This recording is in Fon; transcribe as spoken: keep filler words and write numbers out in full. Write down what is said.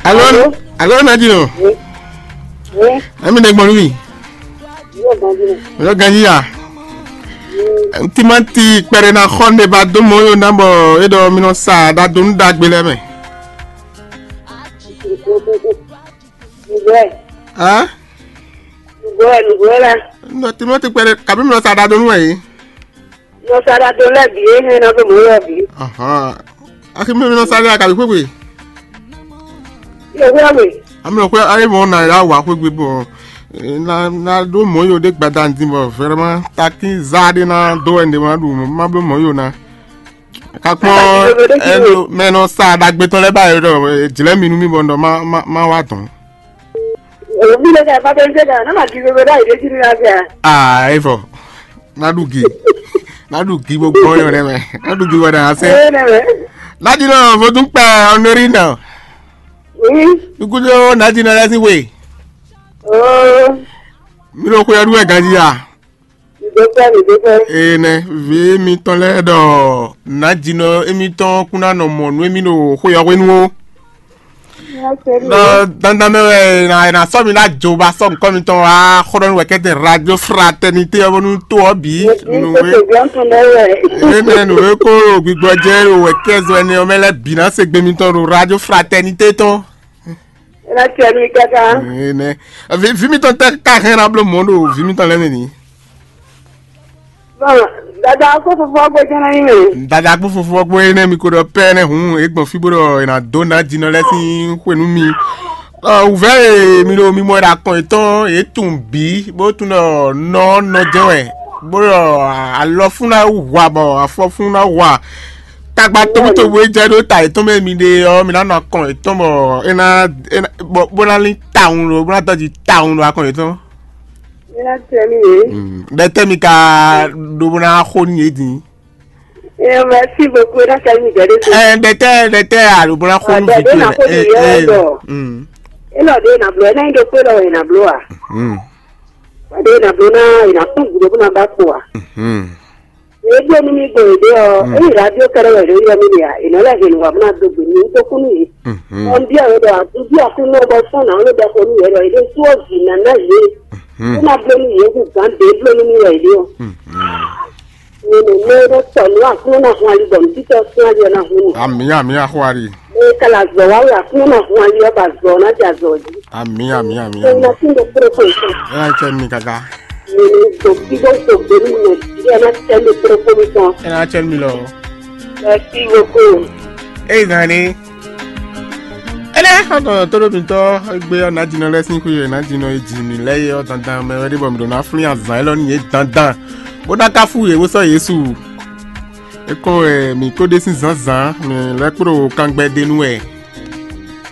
Alo, alo, Nadinɔ. Emi ɖe gbɔn nú mi. Yóò ganjí nɛ. Yóò ganjí ya. Timanti kpɛɖe na xɔ ne ba dó mɔ yóò ná bɔ é ɖɔ mi nɔ sa ɖadó nú ɖagbe lɛ́ɛ mɛ. Nùgbọ́ ẹ̀. Hã? Nùgbọ́ ẹ̀, nùgbọ́ ẹ̀ la. Nɔ timanti kpɛɖe kabi mi nɔ sa ɖadó nú wɛ yìí. Nɔ sa ɖadó lɛ́ɛ bǐ é hɛn ná dó mɔ yóò bǐ. Axi mi nɔ sa ɖe akabi xwégbe. Yóò hwé ɔ́ mɛ. Amlɔ xwé ayé mɔ na ya wa xwégbe bɔ na na ɖó mɔ yó ɖé gbada din bɔ vraiment takin za ɖé na dó wɛ ɖé ma ɖu ma bló mɔ yó na. Kakpɔn ɛlo mɛ nɔ sa ɖagbe tɔn lɛ ba yɔ ɖɔ jlɛ mi nú mi bɔ ɖɔ ma ma ma wa dɔn. Òbí lè ka bá bẹ́ẹ̀ ṣe kà náà máa kí gbogbo dáì dé jí ní láti à. Ah, evɔ. Naɖu gi. Naɖu gi gbogbo yɔ ɖe mɛ. Naɖu gi wɔ ɖe ase. Ẹ nẹ mẹ. Nadinɔ vodun kpɛ ɔnori nɔ. Oui. Nukudo nadinɔ lɛ si we. Oh. Mi lo xwe ɔdu wɛ ganji ya. Mi do fẹ́, mi do fẹ́. Ee nɛ, vi mitɔn lɛ ɖɔ nadinɔ emitɔn kún ná nɔ mɔ nú emi ɖo xwe ɔ́ hwenu ó. Nɔ dandan mɛ wɛ na na sɔ mi na jo ba sɔ nukɔ mitɔn wa xɔ ɖɔ nu wɛ kɛtɛ radio fraternité ɔ́ bónú to ɔ́ bǐ nu wɛ. Ee nɛ nu wɛ ko gbigbɔ jɛ ɖo wɛ kɛzɔ ɛnɛ ɔ́ mɛ lɛ bǐ ná se gbe mitɔn ɖo radio fraternité tɔn. Ena tiɛ mi kaka. Ee nɛ vi vi mitɔn tɛ ka hɛn na bló mɔ ɖo vi mitɔn lɛ mɛ ni. Bon, dada ko fofo gbé jɛnɛ yi mɛ. Dada kpó fofo ɔ́ kpó énɛ́ mi ko ɖɔ pɛ́ nɛ́ hǔn é gbɔn fí bó ɖɔ è nǎ dó ná jinɔ lɛ́ɛ sín xwe nú mi. Wǔvɛ́ e mi ɖo mimɔ e ɖo akɔn yětɔn yě tunwun bǐ bó tunwun ɖɔ nɔ ɔ́ nɔ jɛ́n wɛ, bó ɖɔ alɔ fún ná hu a bɔ afɔ fún ná hu a. Tagba tobutobu e jɛ ɖó ta yětɔn mɛ mi ɖe ɔ́, mi ná nɔ akɔn yětɔn bɔ é ná é ná bó ná lín tawun ɖo bó ná dɔji tawun ɖo akɔn yětɔn. Ɖɛtɛ́ mi ka ɖó bó ná xo nú yě din? Ɛ, merci beaucoup, ena ka mi dɛ de so. Ɛ, ɖɛtɛ́ ɖɛtɛ́ a ɖó bó ná xo nú Adé, vǐ towe na xo nɛ. Nìyɛ Ɛ, dɔ. Mm. Ena ɖe na blɔ, ena ɖo kpe lɔ ena blɔ a. Mm. Wa ɖe na blɔ na ena kún gudo bó na ba kpo a. Mm. E blɔ nu mi gbɔ ede ɔ, Mm. eyi radio kɛrɛ wɛ ɖo yɔ mi de a, ena lɛ hɛn wa bó na do gbe mi to kunu yi. Mm. Ɔn bi a wɛ dɔ a, bi a kunu bɔ fɔn na wɛ dɔ ko nu yɛ dɔ, ede suɔ vi na na ye. Mm. Bó na blɔ nu ye hu gan de blɔ nu mi wɛ ede ɔ. Mm. Nínú mẹ́rọ tọ̀nú àkúnná hun alibọ̀mù títọ́ sún alẹ́ ọ̀nà hun ni. Àmì àmì àhúwárì. Ní kàlà zọ̀ wá wí àkúnná hun alẹ́ ọba zọ̀ ọ̀nà jà zọ̀ yìí. Àmì àmì àmì Mo àmì. Lọ sí mo kúrò fún ìfún. Ẹ jẹ́ mi kàkà. Nínú gbòkígbó gbògbó ní Nàìjíríà náà tẹ́ mi kúrò fún mi tán. Ẹ náà tẹ́ mi lọ. Ẹ sí gbogbo. Ẹ zàn ni. Ene xɔtɔn tɔɖo mitɔ egbe ɔ nadinɔ lɛ sín xwé yɛ nadinɔ e ji mi lɛ yɛ ɔ dandan mɛ wɛ ɖe bɔ mi ɖo na flin azan élɔ́ n'i yé dandan bó ná ká fú yě bó sɔ́ Yesu. É kɔn wɛ mǐ kó ɖe sín zǎnzǎn mǐ lɛ́ kpó ɖo kangbɛ ɖe nú wɛ.